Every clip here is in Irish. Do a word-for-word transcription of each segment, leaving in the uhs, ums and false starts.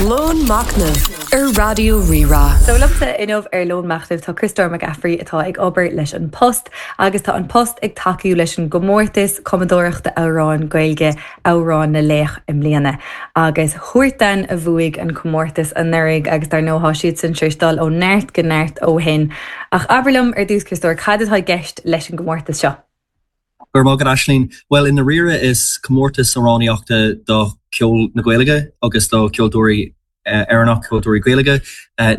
Lón Machnaimh ar Raidió Rí-Rá. So liomsa inniu ar Lón Machnaimh tá Criostóir Mac Gafraidh atá ag obair leis An Post agus tá An Post ag tacú leis an gcomórtas cumadóireachta amhrán Gaeilge Amhrán na Laoch i mbliana. Agus Huartan a bhuaigh an comórtas anuraidh agus dar ndóigh tá siad sin tar éis dul ó neart go neart ó shin. Ach abair liom ar dtús Criostóir cad atá i gceist leis an gcomórtas seo. Gur má Aisling, well i ndáiríre is comórtas amhránaíochta do ceol na Gaeilge agus do ceoltóirí Éireannach ceoltóirí Gaeilge.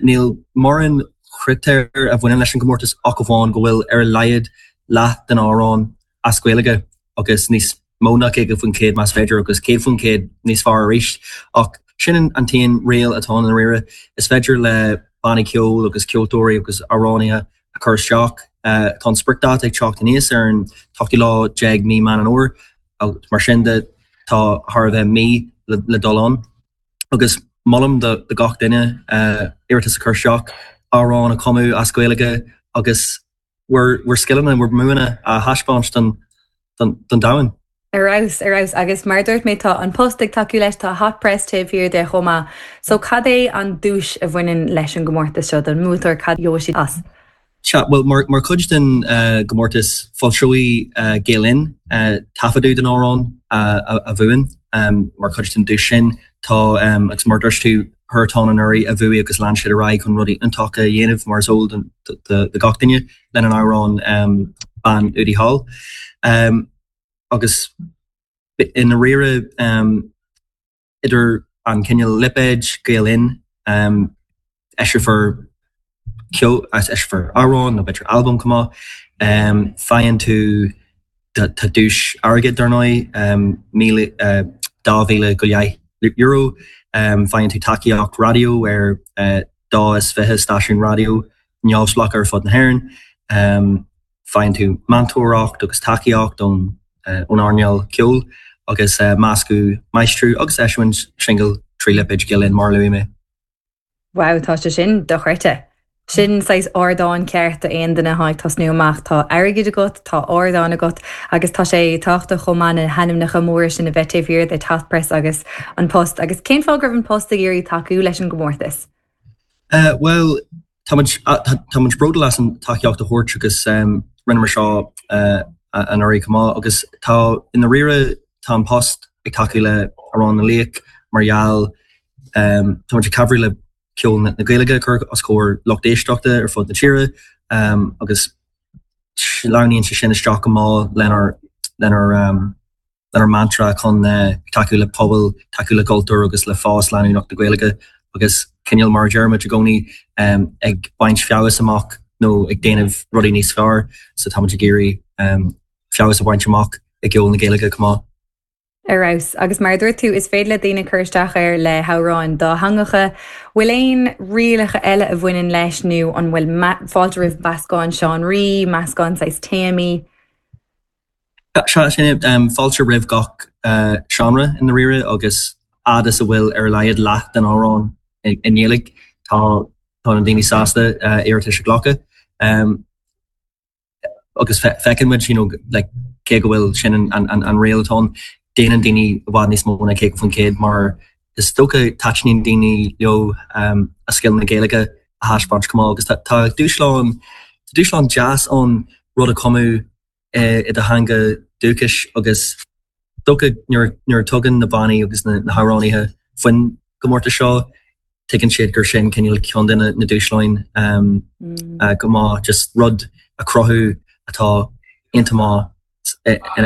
Níl mórán critéir a bhaineann leis an gcomórtas ach amháin go bhfuil ar a laghad leath den amhrán as Gaeilge agus níos mó ná caoga faoin gcéad más féidir agus céad faoin gcéad níos fearr arís. Ach sin an t-aon riail atá i ndáiríre is féidir le bannaí ceoil agus ceoltóirí agus amhránaithe a chur isteach. Tá an spriocdháta ag teacht aníos ar an ochtú lá déag mí Meán an Fhómhair mar sin de tá thar a bheith mí le, le dul ann. Agus molaim do, do gach duine uh, iarratas a chur isteach amhrán a chumadh as Gaeilge agus bhur bhur scileanna bhur mbuanna a thaispeáint don, don, don domhan. Ar fheabhas ar fheabhas agus mar dúirt mé tá An Post ag tacú leis tá Hot Press taobh thiar de chomh maith. So cad é an duais a bhaineann leis an gcomórtas seo don mbuaiteoir cad gheobhaidh siad as. Sea, well mar, mar chuid den uh, gcomórtas foilseoidh uh, Gael Linn uh, taifeadadh den amhrán uh, a, a bhuann um, mar chuid den duais sin tá um, agus mar dúirt tú Huartan anuraidh a bhuaigh agus lean siad ar aghaidh chun rudaí iontacha a dhéanamh mar is eol do gach duine lena n-amhrán um, Bean Udaí Thall. Um, agus i ndáiríre um, idir an cineál lipéid Gael Linn um, eiseofar ceol eiseofar amhrán nó b'fhéidir albam chomh maith um, faigheann tú tá duais airgid dar ndóigh um, míle uh, dá mhíle go leith euro um, faigheann tú tacaíocht raidió ar uh, dá is fiche stáisiún raidió neamhspleách ar fud na hÉireann um, faigheann tú meantóireacht agus tacaíocht ón uh, ón earnáil ceoil agus uh, meascadh máistriú agus eisiúint singil trí lipéid Gael Linn mar luaigh mé. Wow tá sé sin dochreidte. Sin saghas ardán ceart aon duine atá ag tosnú amach tá airgead agat tá ardán agat agus tá sé tábhachtach chomh maith na hainmneacha móra sin a bheith taobh thiar de Hot Press agus An Post agus cén fáth go raibh An Post ag iarraidh tacú leis an gcomórtas. Uh, well tá tá bródúil as an tacaíocht a thabhairt agus um, rinneamar seo uh, anuraidh chomh maith agus tá i ndáiríre tá An Post ag tacú le Amhrán na Laoch mar gheall um, tá ag cabhrú le ceol na Gaeilge chur os comhair lucht éisteachta ar fud na tíre um, agus sleamhnaíonn sé sin isteach go maith lenár lenár um, lenár mantra chun uh, tacú le pobal, tacú le cultúr agus le fás leanúnach na Gaeilge agus cineál mar deirimid i gcónaí um, ag baint feabhas amach nó ag déanamh rudaí níos fearr so tá ag iarraidh um, feabhas a bhaint amach ag ceol na Gaeilge chomh maith. Ar fheabhas agus mar dúirt tú is féidir le daoine cur isteach air le hamhráin dátheangacha, bhfuil aon rialacha eile a bhaineann leis nó an bhfuil fáilte roimh meascán seánraí, meascán saghas téamaí. Se sin um, fáilte roimh gach uh, seánra i ndáiríre agus fhad is a bhfuil ar a laghad leath den amhrán i nGaeilge tá tá na daoine sásta uh, iarratais a ghlacadh. Um, agus feiceann muid you know, like, cé go bhfuil sin an, an, an, an riail atá déanann daoine i bhfad níos mó ná caoga faoin gcéad mar is dócha taitníonn daoine leo um, a scil na Gaeilge a thaispeáint chomh maith agus tá dúshlán dúshlán deas an rud a chumadh i do theanga dúchais agus dócha nuair tugann na bannaí agus na, na hamhránaithe faoin gcomórtas seo tuigeann siad gur sin cineál ceann de na dúshláin um, mm. uh, go maith just rud a chruthú atá iontach maith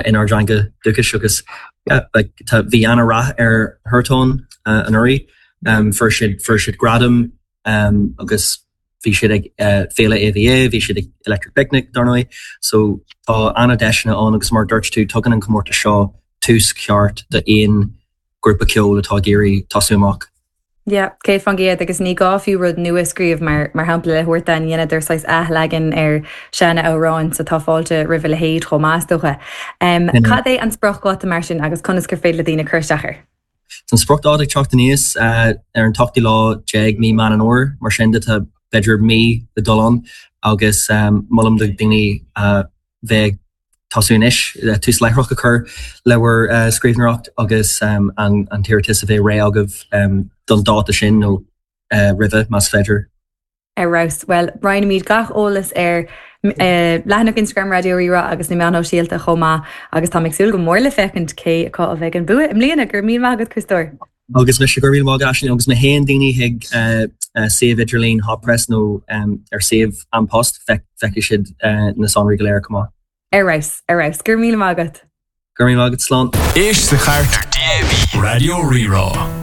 inár dteanga dúchais agus yeah, like, tá bhí an-rath ar Huartan uh, anuraidh um, fuair siad fuair siad gradam um, agus bhí siad ag uh, féile AVA, bhí siad ag Electric Picnic dar ndóigh, so tá an-deiseanna ann agus mar dúirt tú tugann an comórtas seo tús ceart d'aon grúpa ceoil atá ag iarraidh tosú amach. Ja, cé fan géad agus ní gá fiú rud nua scríobh mar mar shampla le Huartan dheineadar saghas athleagan ar sean-amhráin so tá fáilte roimh a leithéid chomh maith dócha. Um, Cad é an spriocdháta mar sin agus conas gur féidir le daoine cur isteach air? An spriocdháta ag teacht aníos uh, ar an ochtú lá déag mí Meán an Fhómhair mar sin de tá b'fhéidir mí le dul ann agus um, molaim do daoine uh, bheith tosú anois le tús láithreach a chur le bhur uh, scríbhneoireacht agus um, an, an t-iarratas a bheith réidh agaibh um, don dáta sin nó roimhe más féidir. Ar fheabhas. Bhuel, roinnfimid gach eolas ar leathanach Instagram Raidió Rí-Rá agus na meáin shóisialta chomh maith agus táim ag súil go mór le féachaint cé acu a bheidh an bua i mbliana. Go raibh míle maith agat, Criostóir. Agus mise go raibh míle maith agat Aisling agus má théann daoine chuig suíomh idirlín Hot Press nó ar suíomh An Post feicfidh siad na sonraí go léir chomh maith. Ar fheabhas, ar fheabhas. Go raibh míle maith agat. Go raibh míle maith agat, slán. Éist sa chairt ar DAB Raidió Rí-Rá.